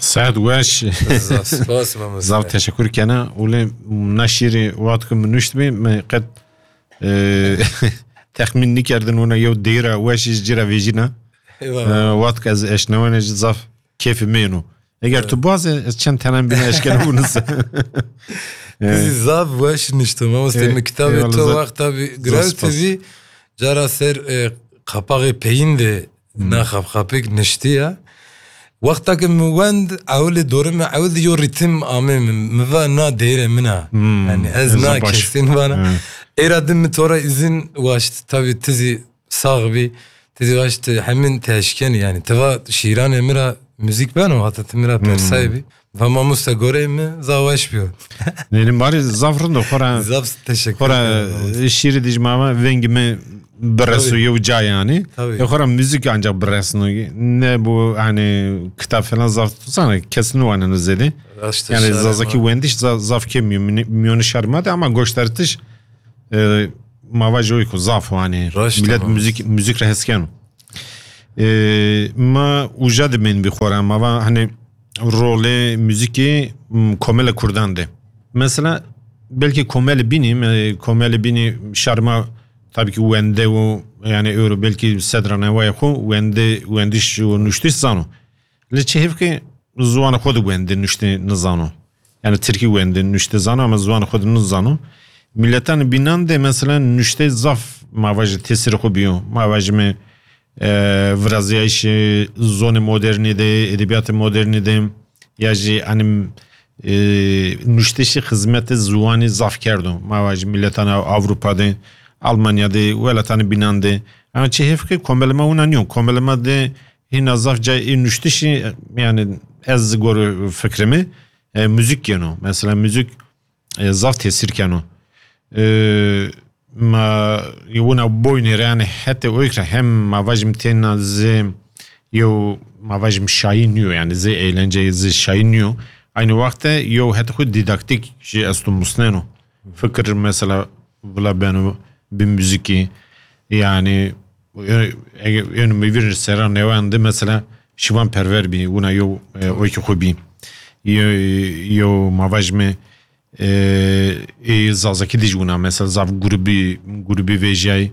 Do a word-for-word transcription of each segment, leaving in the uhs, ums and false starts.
Saet weş. Zaf spas, mamoste. Zaf teşekkür kene. Û lê na şîrê wextê ku min nuştibî, min qet, e, texmîn nikerdin wina yew deyra weş ji cîra vêjîna. Eyvallah. E, wextê ez eşnewene jî zaf kêfê min êno. Eger tu bazê, ez çend tenen bîne eşkene bûnise. Zî zaf weş nişto, mamoste. E, min kitabê eyvallah, to zaf, wexta bî, zaf girewtibî, spas. Cara ser, e, qapaxê peyîn de Hmm. Na xapxapêk niştiye. Wexta ke min wend, ewilê dorê min, ewil yo rîtim amê min. Min va na deyre min a. Hmm. Yani ez Ez na baş. Kesên vana. Hmm. Êra din min tora izin waşt, tabi tizî sax bî. Tizî waşt hemin teşken yani. Tiva şîranê min ra müzik beno, hatta ti min ra Hmm. persay bî. Va mamoste gorê min za weş biyo. Nêrî marî zaf rind o, xora Zaf teşekkür xora ederim. Şîrî dij mama vengî min bireso Tabii. Yew ca yani. Tabii. E, xora müzik ancak biresno. Ne bu hani kitap falan zaf tutsana kesin o hani zede. Raşt Yani şeref zazaki var. Wendiş za-, zaf ke miyoni şermade ama göstertiş, e, mavajoy ku zaf hani Raşt millet tamam. Müzik, müzik reheskeno. E, ma uca de men bi xora ma va hani rolê müzikê, m, komele kurdan de. Mesela belki komele bînî, me, komele bînî şerma tabii ki wende û yani euro belki sedra newaya xo wende, wendiş û nuştiş zano. Lê çi hevke ziwana xo de wende nuşte nizano. Yani tirkî wende nuşte zano ama ziwana xo de nizano. Miletan bînan de mesela nuşte zaf mavaji tesir xo biyo. Mavaji me e, viraziyayîşê zonê modernî de, edebiyatê modernî de, ya jî, hani, e, nuştişî xizmetê ziwanî zaf kerdo. Ma va jî miletana Ewropa de, Almanya de, welatanê bînan de. Ama çi hêf ke komelê ma wina nîyo. Komelê ma de hîna zaf cayê nuştişî, yani ez gor fikrê mi, e, müzik yeno. Mesela müzik e, zaf tesîr keno. E, ma wina boynê re, yani hete oyk re hem ma vajim têna zê yew ma vajim şayî niyo, yani zê eğlence zê şayî niyo. Aynı wexte yew hete xwe didaktik jî esto musneno. Fikir mesela vila beno bi müzikî, yani e, e, ên mi vir sera newan de mesela Şivan Perver bî, wina yew, e, oyki xwe bî. Yew, yew ma vajime, e, ê Zazakî dij wina, mesela zaf grubî, grubî vêjiyayî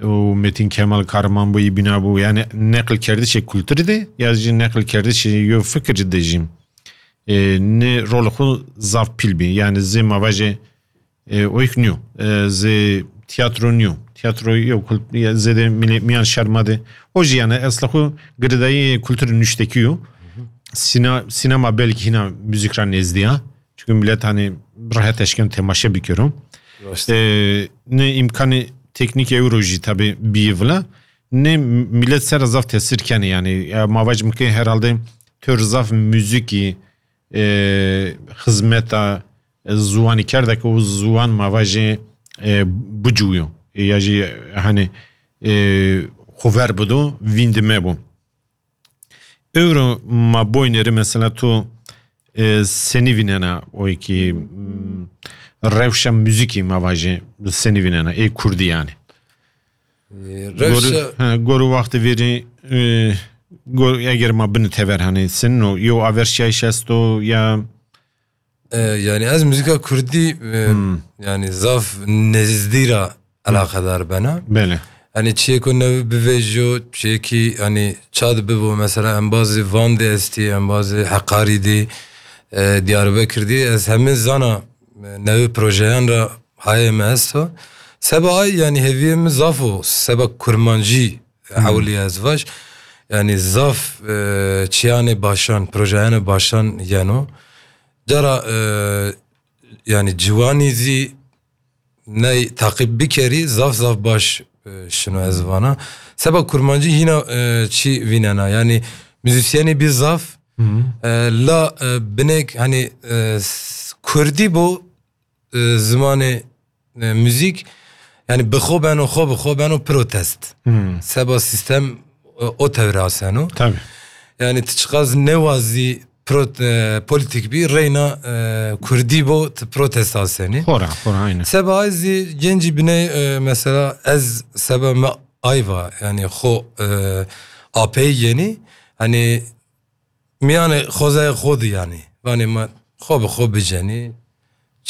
û Metin Kemal Kahraman bû, yî bîna bû. Yani neqilkerdişê kulturî de, ya jî neqilkerdişê yo fikirî de jî, e, ne rolê xwe zaf pîl bî. Yani zê ma vajê, e, oyk niyo. E, zê tiyatro niyo. Tiyatro yo kult-, ya zêde milê-, miyan şerma de. O jî yani esla xwe girêdayî kulturê nuştekî yo. Sîna-, sînema belkî hîna müzik ra nêzdî ya. Çünkü millet hani rehet eşken temaşe bikiro. Raşt. E, ne imkanê teknîk ew ro jî tabi bîyî vila, ne millet ser zaf tesir kenê yani. Ya ma vacim ke herhalde tör zaf müzikî, e, xizmeta, e, ziwanî kerde ke o ziwan ma vajê, e, biciwiyo. E, ya jî hani, e, xwe ver bido, vîndî me bû. Ewro ma boyneri mesela tu, e, senî vînena o ki, mm, rewşa müzikî ma vajê senî vînena ê kurdî yani. E, rewşa Gor, ha, gor wextê vêrî, e, gor eger ma bin tever hani sen o yo averşiyayîş esto ya E, yani ez muzîka kurdî, e, Hmm. Yani zaf nezdî ra Hmm. Alaqedar bena. Belê. Yani çiyê ku nevi bivêjo, çiyê ki yani çad bibo, mesela embazê Van de estî, embazê Heqarî de, e, Diyarbekir de, ez hemî zana, e, nevi projeyan ra hayê me esto. Seba ay yani heviyê min zaf o, seba kurmancî Hmm. Hewlî ez vaj. Yani zaf, e, çiyanê başan, projeyanê başan yeno. Cara, e, yani ciwanî zî ney taqîb bikerî, zaf zaf baş, e, şino ez vana. Seba kurmancî hîna, e, çi vînena. Yani muzîsyenê bî zaf, Hı hı. E, la, e, binek hani, e, s-, kurdî bo, e, zimanê, e, müzik, yani bi xwe beno, xwe bi xwe beno protest. Hmm. Seba sistem, e, o tewre aseno. Tabii. Yani ti çiqas newazî pro-, e, politik bî, reyna, e, kurdî bo, ti protest asenî. Xora, xora, aynen. Seba ay zî gencî biney, e, mesela ez seba me ayva, yani xo, e, apey yenî, hani Miyanê xwezayê xwe di yanî. Vanê me xwe bi xwe bicenî.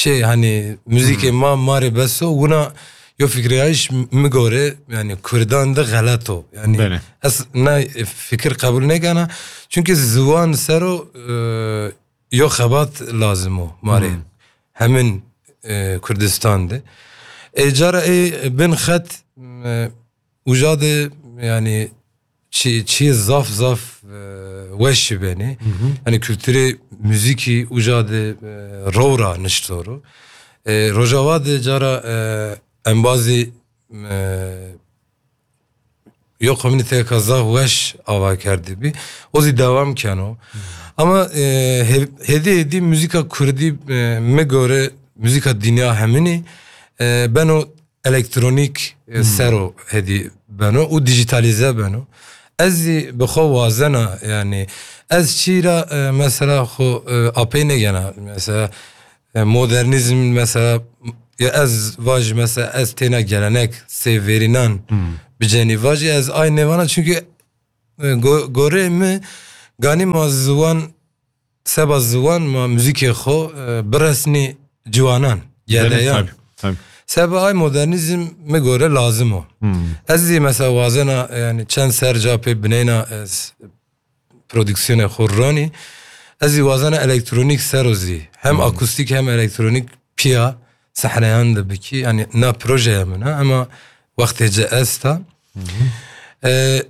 Çê, hani, muzîkê Hmm. ma, marê beso, wina yo fikriyayîş mi gore, yani, Kurdan de xelet o. Yani, Belê. ez na fikir qebul nekena. Çünkü ziwan sero, e, yo xebat lazim o, marê. Hmm. Hemin, e, Kurdistan de. E, cara ê bin xet, e, uca de, yani, çi, çi zaf, zaf, e, weş beni. Hı hı. Yani, kültürê muzîkî uca de, e, rora niştoru. E, Rojava de cara, e, embazî, e, yo komüniteyeka zaf weş ava kerdibî. O zî dewam keno. Ama, e, he-, hêdî hêdî muzîka kurdî, e, mi gore muzîka dinya heminî, e, beno elektronîk, e, Hmm. sero hêdî beno û dijîtalîze beno. Ez zî bi xwe wazena, yani, ez çî ra, e, mesela xwe, e, apey negena. Mesela, e, modernîzm, mesela, ya ez vaj, mesela, ez têna gelenek, sêverînan Hmm. bicenî vaj, ez ay nêvana, çünkü, e, go-, gorê mi ganî ma ziwan, seba ziwan ma muzîkê xwe, e, biresnî ciwanan, Belê, gedeyan. tabii, tabii. Seba ay modernîzm mi gore lazim o. Hmm. Ez zî mesela wazena, yani, çend ser ca pê bineyna ez prodüksiyonê xwe ronî. Ez zî wazena elektronîk sero zî. Hem Hmm. akustîk hem elektronîk piya sehneyan de bikî. Yani, na projeye min e, ama wextê ci esta. Hı hı. E,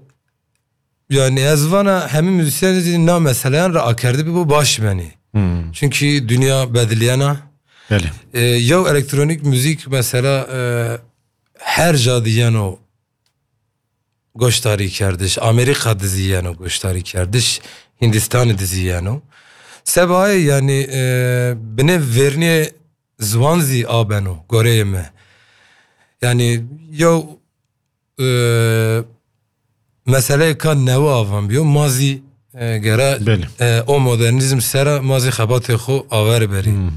yani, ez vana hemî muzîsyen zî na meseleyan re akerdibî bo baş benî. Hmm. Çünkü dünya bediliyena. Belê. E, yew elektronîk muzîk mesela, e, her ca diyeno goştarî kerdiş, Amerîka diziyeno goştarî kerdiş, Hindistanê diziyeno. Sebayê, yani, e, binê verniyê ziwan zî abeno, goreyê me. Yani, yew, e, meseleyeka newe avan biyo, ma zî, e, gere, Belê. e, o modernîzm sera ma zî xebatê xwe aver berî. Hmm.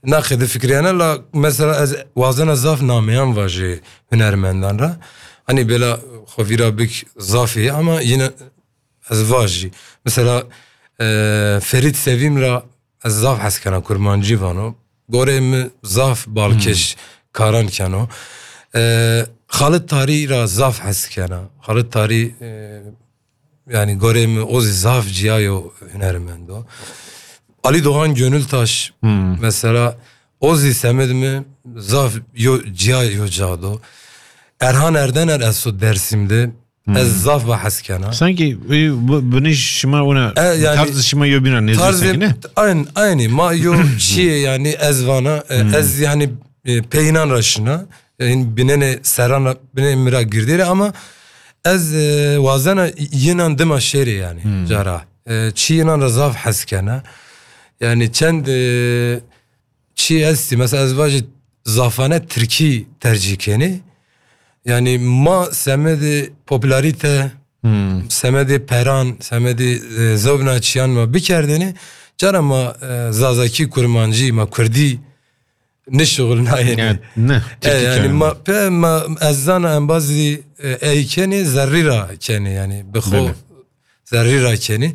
Naqê difikriyane la mesela ez wazena zaf nameyan vajê hunermendan ra. Hani bela xwe vîra bik zafê ye ama yine ez vajî. Mesela, e, Ferît Sevîm ra ez zaf hez kena, kurmancî vano. Gorê mi zaf balkêş Hmm. karan keno. E, Xalid Tarî ra zaf hez kena. Xalid Tarî, e, yani gorê mi o zî zaf ciyayo hunermendo. Ali Doğan Gönültaş Hmm. mesela o zî semed mi zaf yo ciyayo cado. Erhan Erdener esto Dersim'de. Hmm. Ez zaf ba hez kena. Sanki, e, bu, bunu şima ona, E, yani tarz şima yo bîna nêzî tarzê, sanki, ne? Aynı, aynı. Ma yo çiye yani ez vana, e, Hmm. ez yani, e, peynan ra şina. E, binene serana, binene mira girdere ama ez, e, wazena yinan dima şêrê yani, Hmm. cara. E, çi yinan ra zaf hez kena. Yani çend, e, çi esti, mesela ez vajî zafane tirkî tercîh kenî. Yani ma semedê popülarite, Hmm. semedê peran, semedê, e, zewbna çiyan ma bikerdêne, cara ma, e, zazakî, kurmancî, ma kurdî nişixulnayêne. Yani, ne, E, tirkî yani kelimeler. ma, pe, ma, ez zana embazî, e, ey kenê, zerrî ra kenê, yani bi xwe Belê. zerrî ra kenê.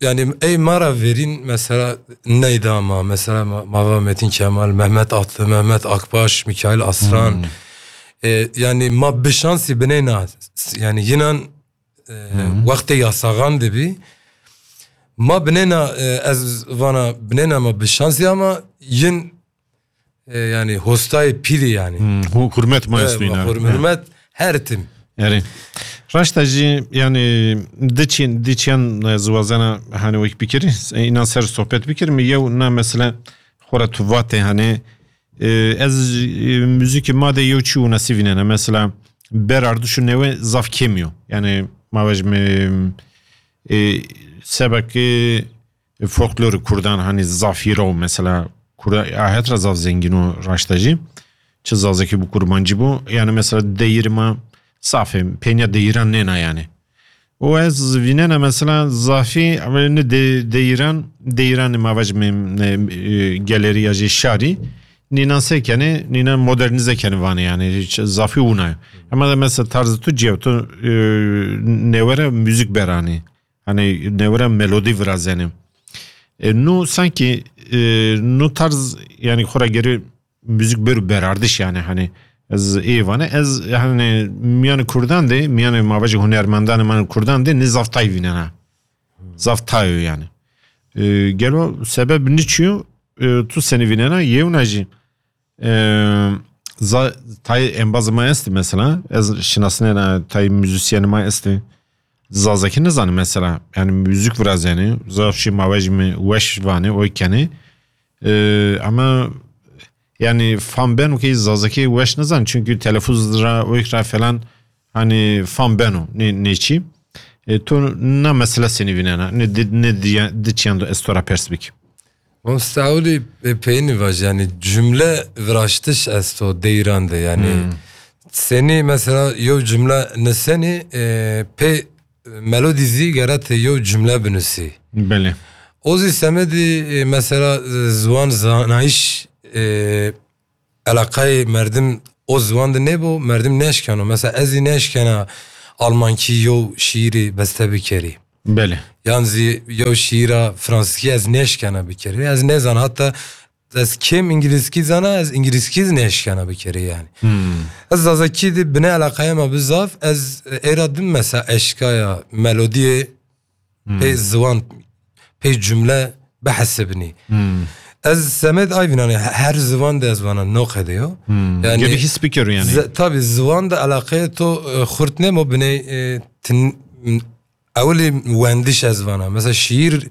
Yani ey ma ra verîn mesela neyda ma, mesela ma, ma va Metin Kemal, Mehmet Atlı, Mehmet Akbaş, Mikail Aslan. Hmm. E, yani ma bi şansî bineyna, yani yinan, e, Hmm. wextê yasaxan dibî. Ma bineyna, e, ez vana bineyna ma bi şansî ama yin, e, yani hostayê pîlî yani. Hmm, hu-, hurmet ma E, esto înan. hur-, hurmet her tim. Erê. Raşta jî, yani, diçin, diçiyan, e, ziwazena, hani, wek bikiri, e, înan ser sohbet bikir mi, yew na mesela, xora tu vate, hani, e, ez, e, muzîkê ma de yew çi winasî vînene. Mesela, berardiş û newe zaf kêmiyo. Yani, ma vej mi, e, sebekê folklorê kurdan, hani, zaf hîra o, mesela, kurda ahet ra zaf zengîn o raşta jî. Çi zazakî bû, kurmancî bû. Yani, mesela, deyîrê ma zaf e, pênya deyîran nêna yani. Û ez vînena, mesela, zafî, ne de-, deyîran, deyîranê ma vajim, e, e, gelêrî ya jî şarî, nînan se kenê, nînan modernîze kenê vanê yani, hiç zafî wina ye. Ama de mesela tarzê tu ciya tu, e, newere muzîk beranî. Hani newira melodî virazenê. E, nu sanki, e, nu tarz, yani xora geri müzik bir berardiş yani, hani ez ê vane, ez hani miyanê Kurdan de, miyanê mavajê hunermendanê man Kurdan de ne zaf tay vînena. Zaf tayo yani. E, gelo sebeb niçiyo, e, tu seni vînena, yewna jî, e, za-, tay embaz ma esti mesela, ez şinasnena tay müzisyen ma esti. Zazakî nizane mesela. Yani müzik virazeni, zaf şey mavajî mi weş vane, oy kene. E, ama yani fan beno ki zazakî weş nizane. Çünkü telaffuz ra, oy ra falan hani fan beno. Ne, ne çi? E, tu na mesela seni vînena. Ne di, ne di, di çiyan do estora pers bik. Mamoste Ewlî, e, peyni vaj, yani cümle viraştiş esto deyran de, yani Hmm. seni mesela yo cümle niseni, e, pê melodî zî gere te yo cümle binusî. Belê. O zî semedî, e, mesela, e, ziwan zanayîş, e, elaqayê merdim o ziwan de nêbo, merdim neşkeno. Mesela ez zî neşkena almankî yo şiîrî beste bikerî. Belê. Yan zî yo şiîra fransizkî ez neşkena bikerî. Ez nezan hatta ez kêm îngilîzkî zana, ez îngilîzkî zî neşkena bikerî yani. Hmm. Ez zazakî de bine elaqaya ma bizaf, ez, e, êra dim mesela eşkaya melodiyê Hmm. pê ziwan, pê cümle bihesibinî. Hmm. Ez semed ay vînanê he-, her ziwan de ez vana no qede yo. Hmm. Yani Gelî his bikeru yani. Ze-, tabi ziwan de elaqeyê to, e, xurt nemo binê, e, tin, ewlî wendiş ez vana. Mesela şiir,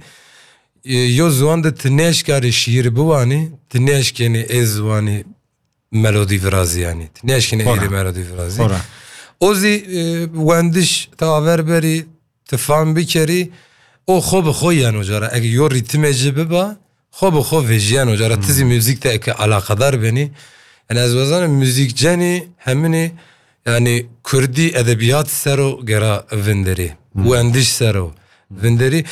e, yo ziwan de tu neşkarî şiir biwanî, tu neşkenî ê ziwanî melodî virazî yani. Tu neşkenî Xora. êrî melodî virazî. Xora. O zî, e, wendiş te aver berî, tu fam bikerî, o xo bi xo yeno cara. Eke yo rîtimê ci biba, xo bi xo vejiyeno cara. Tu zî Hmm. müzik te eke alaqedar benî. Yani ez wazanim müzikcenî heminî yani kurdî edebiyat sero gera vinderî. Hmm. Wendiş sero vinderî.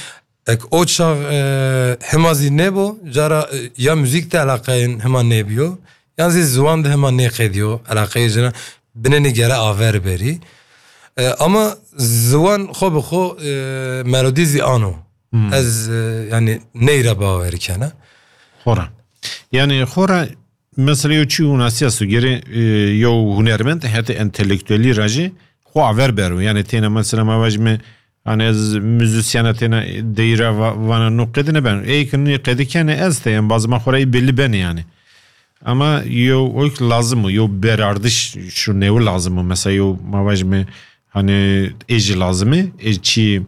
Ek o çax, e, hema zî nêbo, cara, e, ya müzik de elaqeyên hema nêbiyo, yan zî ziwan de hema nêqediyo, elaqeyê cina binenî gere aver berî. E, ama ziwan xo bi xo, e, melodî zî ano. Hmm. Ez, e, yani neyre bawer kena. Xora. Yani xora mesela yo çi hunasiya su gere, e, yo hunermend, hete entelektuelî ra jî xo aver bero. Yani têne mesela ma vajime, hani ez müzisyena têne deyra va-, vana no qedi neben. Ey ki nî qedi kene ez te, yani bazı ma xora ey belli beni yani. Ama yo o ki lazım o, yo berardiş şu nevi lazım o. Mesela yo ma vajime hani ê jî lazim e, ê çi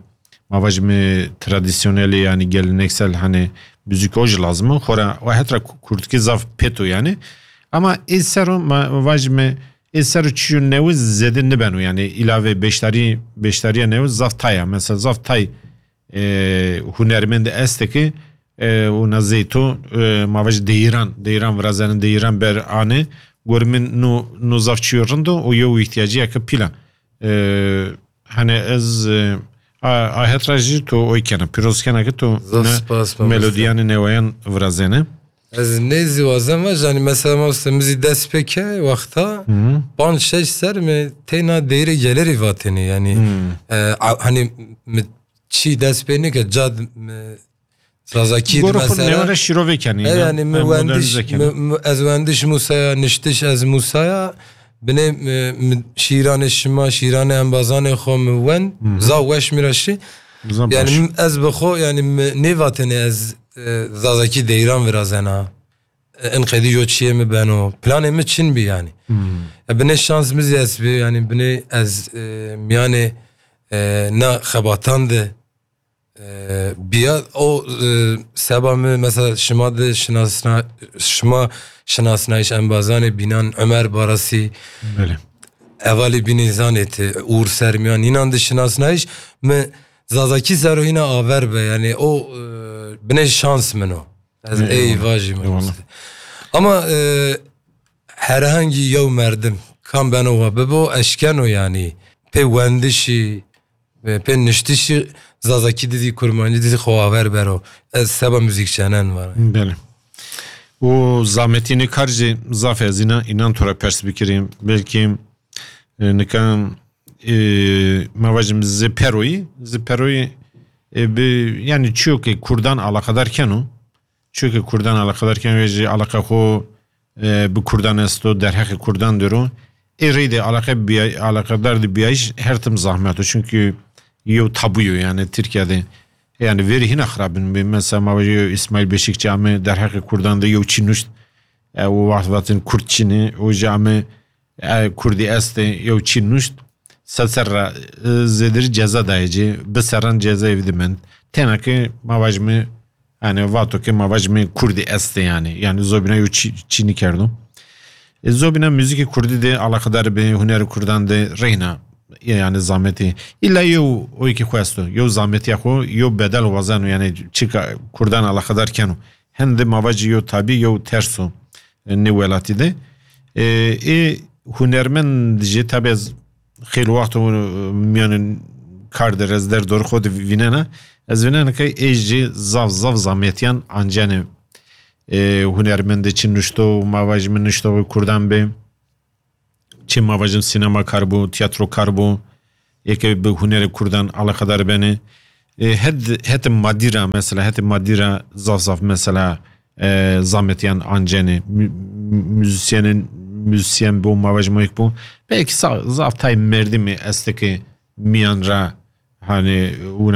ma vajime tradisyonelî yani geleneksel hani müzik o jî lazim e. Xora o hetra ku-, kurdkî zaf peto yani. Ama ê sero ma vajime ê sero çiyo newi zêde nibeno yani ilave beşdarî, beşdariya newi zaf tay a. Mesela zaf tay e, hunermend este ki, e, û na zeyto, e, ma vajî deyiran, deyiran virazenin, deyiran ber ane, gor min nu, nu zaf çiyo rind o, û yew îhtiyacî ya ki pîla. E, hani ez, e, a, a hetra jî to oy kena, pîroz kena ki to Zaf ne spas, mamoste. Melodiyanê newayan virazene. Ez nêzî wazem ve, yani mesela mamoste min zî dest pê ke wexta Hı hı. panc şeş ser mi teyna deyre gelerî vatenî, yani, Hı. e, a, hani mi çi dest pê neke cad mi Zazakî Goro xwe mesela. Newere şîrove kenî, E, ne? Yani mi E, wendiş, modernize kenî. Mi, mi, ez wendiş Musaya, niştiş ez Musaya, binê mi, mi şîranê şima, şîranê embazanê xwe mi wen, Hı hı. Za weş mi ra şî. Za Yani baş. Mi, ez bi xwe, yani mi nêvatene ez, e, Zazakî deyran virazena. E, in qedî yo çiyê mi beno. Planê mi çin bi yani. Hı. E, binê şans mi zî ez bi, yani binê ez, e, miyanê, e, na xebatan de E, biya o, e, seba mi, mesela şima de şinasna-, şima şinasnayîş embazanê bînan Ömer Barasî, Belê. Evalî bînî zanê ti Uğur Sermiyan, înan de şinasnayîş mi Zazakî sero hîna aver be, yani o, e, binê şans min o. Ez Eyvallah. Ey vajî min Eyvallah. Ama, e, herhangî yew merdim kam beno wa bibo, eşkeno yani pê wendişî, Ve pê niştişî Zazakî dizî, Kurmancî dizî xwe aver bero. Ez seba muzîkçenen vara. Belê. Û zametînê kar jî zaf ez înan, înan to re pers bikirîm. Belkî, e, nika, e, me vajim zê peroyî, zê peroyî, e, bi, yani çiyo ke Kurdan alaqedar keno, çiyo ke Kurdan alaqedar keno, wê jî alaqa xo, e, bi Kurdan esto, derheqê Kurdan diro. Ê reyde alaqa biya-, alaqedar de biyayış her tim zahmet o. Çünkü yew tabu yo yani Tirkiye de. Yani verî hîna xirabin bi. Mesela ma vajî yew İsmail Beşikçi ame derheqê Kurdan de yew çî nuşt. E, o wext vatin Kurd çî ne, o jî ame, e, Kurdî este yew çî nuşt. Sed serra, e, zêdir ceza dayê cê, bi serran ceza ev dimend. Tena ke ma vajime, yani vato ke ma vajime Kurdî este yani. Yani zobîna yew çî, çî nikerdo. E, zobîna muzîkê Kurdî de alaqedar bi, hunerê Kurdan de reyna, yani zametî. Îlla yew oyekî xwe esto, yew zametiya xwe, yew bedel wazeno, yani çika Kurdan alaqedar keno. Hende ma vajî yew tabî, yew terso, e, nê welatî de. E, ê hunermend jî tabi ez xêl wext û, e, miyanê kar de ez derdor xwe de vînena. Ez vînena ke ê jî zaf zaf zametiyan ancene. E, hunermendê çi nuşto, ma vajî min nuşto Kurdan be. Çi ma vajim sînemakar bû, tiyatrokar bû, yeke bi hunerê Kurdan alaqedar bene. E, het, het madî ra mesela, het madî ra zaf zaf mesela, e, zametiyan ancene. Mü-, mü-, müzisyenin, müzisyen bû, ma vajim yek bû. Belkî sa-, zaf tay merdimî este ke miyan ra, hani, wina